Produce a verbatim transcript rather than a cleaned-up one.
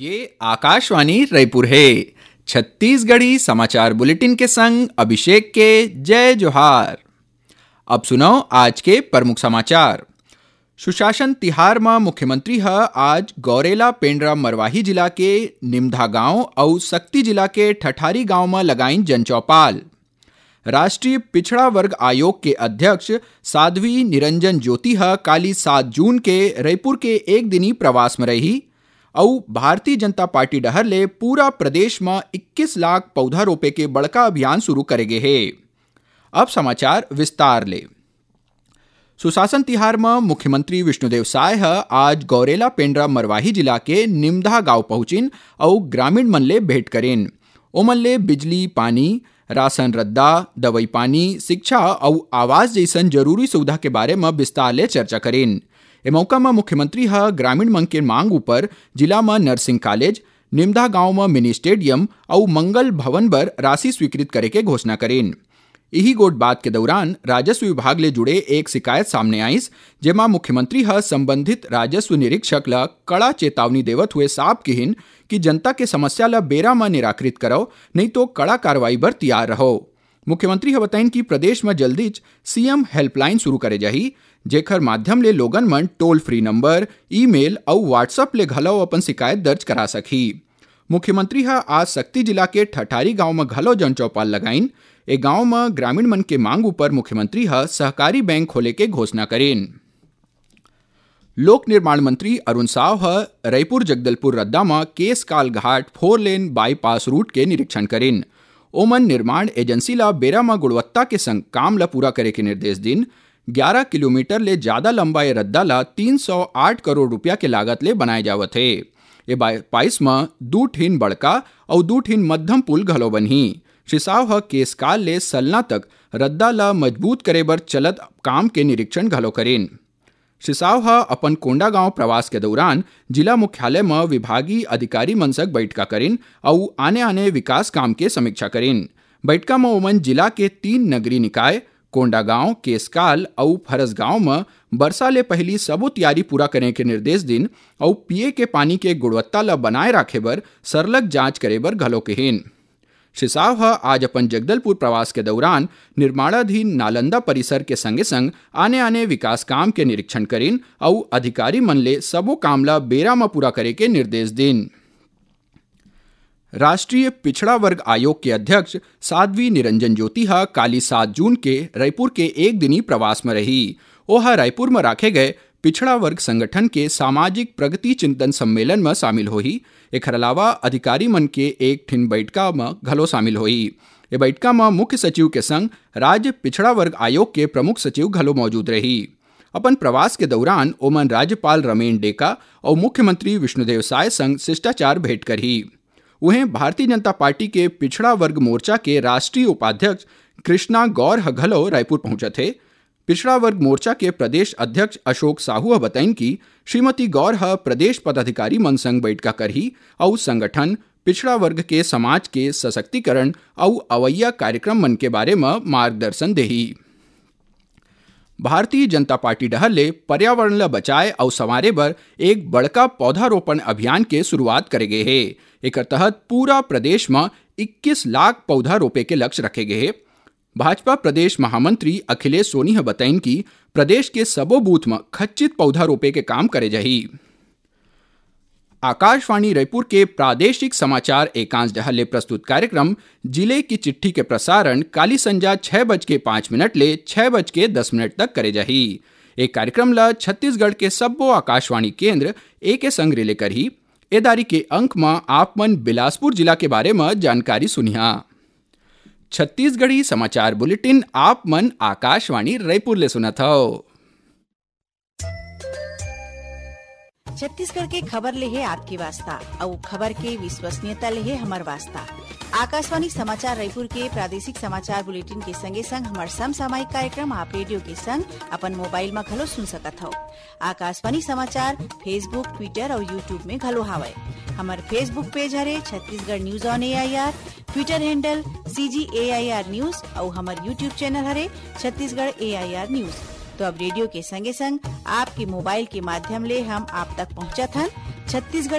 ये आकाशवाणी रायपुर हे। छत्तीसगढ़ी समाचार बुलेटिन के संग अभिषेक के जय जोहार। अब सुनव आज के प्रमुख समाचार। सुशासन तिहार म मुख्यमंत्री ह आज गौरेला पेंड्रा मरवाही जिला के निमधा गांव अउ सक्ती जिला के ठठारी गांव म लगाइन जनचौपाल। राष्ट्रीय पिछड़ा वर्ग आयोग के अध्यक्ष साध्वी निरंजन ज्योति ह काली सात जून के रईपुर के एक दिनी प्रवास म रही अउ भारतीय जनता पार्टी डहर ले पूरा प्रदेश म इक्कीस लाख पौधा रोपे के बड़का अभियान शुरू करे गे हे। अब समाचार विस्तार ले। सुशासन तिहार म मुख्यमंत्री विष्णुदेव साय ह आज गौरेला पेंड्रा मरवाही जिला के निमधा गांव पहुंचिन अउ ग्रामीण मन ले भेंट करिन। ओमन ले बिजली, पानी, राशन रद्दा, दवई पानी, शिक्षा अउ आवास जइसन जरूरी सुविधा के बारे म विस्तार ले चर्चा करिन। ए मौका म मुख्यमंत्री ह ग्रामीण मन के मांग उपर जिला म नर्सिंग कॉलेज, निमधा गांव म मिनी स्टेडियम अउ मंगल भवन बर राशि स्वीकृत करे के घोषणा करिन। इही गोठ बात के दौरान राजस्व विभाग ले जुड़े एक शिकायत सामने आइस, जेमा मुख्यमंत्री ह संबंधित राजस्व निरीक्षक ल कड़ा चेतावनी देवत हुए साफ किहिन कि जनता के समस्या ल बेरा म निराकृत करव, नहीं तो कड़ा कार्रवाई बर तैयार रहव। मुख्यमंत्री ह बताइन कि प्रदेश म जल्दीच सीएम हेल्पलाइन शुरू करे जाही, जेखर माध्यम ले लोगन मन टोल फ्री नंबर, ईमेल अउ WhatsApp ले घलव अपन शिकायत दर्ज करा सकही। मुख्यमंत्री ह आज सक्ती जिला के ठठारी गांव म घलो जनचौपाल लगाइन। ए गांव म ग्रामीण मन के मांग उपर मुख्यमंत्री ह सहकारी बैंक खोले के घोषणा करिन। लोक निर्माण मंत्री अरुण साव ह रईपुर जगदलपुर रद्दा म केसकाल घाट फोर लेन बाईपास रूट के निरीक्षण करिन। ओमन निर्माण एजेंसी ल बेरा म गुणवत्ता के संग काम ल पूरा करे के निर्देश दिन। ग्यारह किलोमीटर ले जादा लंबा ए रद्दा ल तीन सौ आठ करोड़ रुपया के लागत ले बनाए जावत हे। ए बाईपास म दू ठिन बड़का अउ दू ठिन मध्यम पुल घलो बनही। श्री साव ह केसकाल ले सलना तक रद्दा ल मजबूत करे बर चलत काम के निरीक्षण घलो करिन। श्री साव ह अपन कोंडागांव प्रवास के दौरान जिला मुख्यालय म विभागीय अधिकारी मन संग बइठका करिन अउ आने-आने विकास काम के समीक्षा करिन। बइठका म ओमन जिला के तीन नगरीय निकाय, कोंडागांव, केसकाल अउ फरसगांव म बरसा ले पहिली सबो तियारी पूरा करे के निर्देश दिन अउ पीए के पानी के गुणवत्ता ल बनाए राखे बर सरलग जांच करे बर घलो कहिन। श्री साव ह आज अपन जगदलपुर प्रवास के दौरान निर्माणाधीन नालंदा परिसर के संगे-संग आने-आने विकास काम के निरीक्षण करिन अउ अधिकारी मन ले सबो काम ल बेरा म पूरा करे के निर्देश दिन। राष्ट्रीय पिछड़ा वर्ग आयोग के अध्यक्ष साध्वी निरंजन ज्योति ह काली सात जून के रायपुर के एक दिनी प्रवास म रही। ओह रायपुर म राखे गए पिछड़ा वर्ग संगठन के सामाजिक प्रगति चिंतन सम्मेलन म शामिल होही। एखर अलावा अधिकारी मन के एक ठिन बइठका म घलो शामिल होही। ए बइठका म मुख्य सचिव के संग राज्य पिछड़ा वर्ग आयोग के प्रमुख सचिव घलो मौजूद रही। अपन प्रवास के दौरान ओमन राज्यपाल रमेन डेका अउ मुख्यमंत्री विष्णुदेव साय संग शिष्टाचार भेंट करही। उहें, भारतीय जनता पार्टी के पिछड़ा वर्ग मोर्चा के राष्ट्रीय उपाध्यक्ष कृष्णा गौर ह घलो रायपुर पहुंचत हे। पिछड़ा वर्ग मोर्चा के प्रदेश अध्यक्ष अशोक साहू ह बताइन कि श्रीमती गौर ह प्रदेश पदाधिकारी मन संग बइठका करही अउ संगठन, पिछड़ा वर्ग के समाज के सशक्तिकरण अउ अवइया कार्यक्रम मन के बारे म मार्गदर्शन देही। भारतीय जनता पार्टी डहर ले पर्यावरण ल बचाए अउ संवारे बर एक बड़का पौधारोपण अभियान के शुरुआत करे गे हे। एकर तहत पूरा प्रदेश म इक्कीस लाख पौधा रोपे के लक्ष्य रखे गे हे। भाजपा प्रदेश महामंत्री अखिलेश सोनी ह बताइन कि प्रदेश के सबो बूथ म खच्चित पौधा रोपे के काम करे जाही। आकाशवाणी रायपुर के प्रादेशिक समाचार एकांश डहर ले प्रस्तुत कार्यक्रम जिले की चिट्ठी के प्रसारण काली संजा छह बज के पाँच मिनट ले छह बज के दस मिनट तक करे जाही। ए कार्यक्रम ल छत्तीसगढ़ के सब्बो आकाशवाणी केंद्र एके संग रिले करही। ए दारी के अंक म आप मन बिलासपुर जिला के बारे म जानकारी सुनिहा। छत्तीसगढ़ी समाचार बुलेटिन आप मन आकाशवाणी रायपुर ले सुनत हव। छत्तीसगढ़ के खबर ले हे आपके वास्ता, अउ खबर के विश्वसनीयता ले हे हमर वास्ता। आकाशवाणी समाचार रायपुर के प्रादेशिक समाचार बुलेटिन के संगे संग हमर समसामयिक कार्यक्रम आप रेडियो के संग अपन मोबाइल म घलो सुन सकत हव। आकाशवाणी समाचार Facebook, Twitter अउ YouTube में घलो हावय। हमर Facebook पेज हरे Chhattisgarh news on AIR, Twitter handle CG AIR news अउ हमर YouTube चैनल हरे छत्तीसगढ़ एआईआर न्यूज। तो अब रेडियो के संगे संग आपके मोबाइल के माध्यम ले हम आप तक पहुंचत हन छत्तीसगढ़